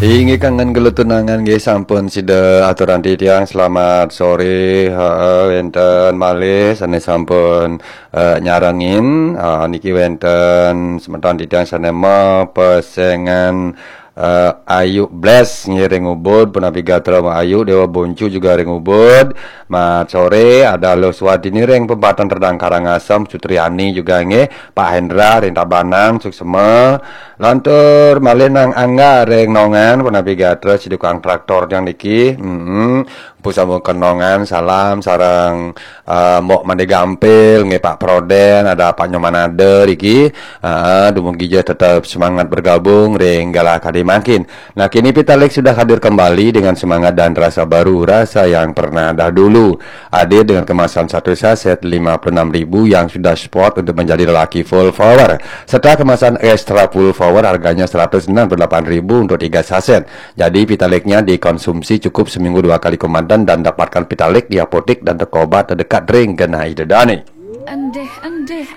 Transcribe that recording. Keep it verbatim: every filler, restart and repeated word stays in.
Inggih kangen gelut tunangan nggih sampun sida aturang titiang selamat sore. Heeh, wenten malih sane sampun eh, nyarengin. Ah, niki wenten semeton titiang sane mapesengan eh, Ayu Bless nggih ring Ubud, punapi gatra Ayu Dewa Boncu juga ring Ubud. Mat sore ada Lo Swadini ring Pebatan Redang Karangasem, Sutriani juga nggih, Pak Hendra ring Tabanan, suksema. Lantur malih Nang Angga ring Nongan, punapi gatra si tukang traktor yang niki. Mm-mm. Pusama Kenongan, salam sareng eh, Mbok Mande Gampil, nggih Pak Proden, ada Pak Nyoman Ader iki. Ah, dumugi ja tetap semangat bergabung ring galah kadi mangkin. Nah, kini Pitalik sudah hadir kembali dengan semangat dan rasa baru, rasa yang pernah dahulu. Hadir dengan kemasan satu saset lima puluh enam ribu yang sudah spot untuk menjadi lelaki full power, serta kemasan extra full power harganya seratus enam puluh delapan ribu untuk tiga saset. Jadi Pitaliknya dikonsumsi cukup seminggu dua kali komandan dan dapatkan Pitalik di apotek dan toko obat terdekat ring genah ida dane. Endih-endih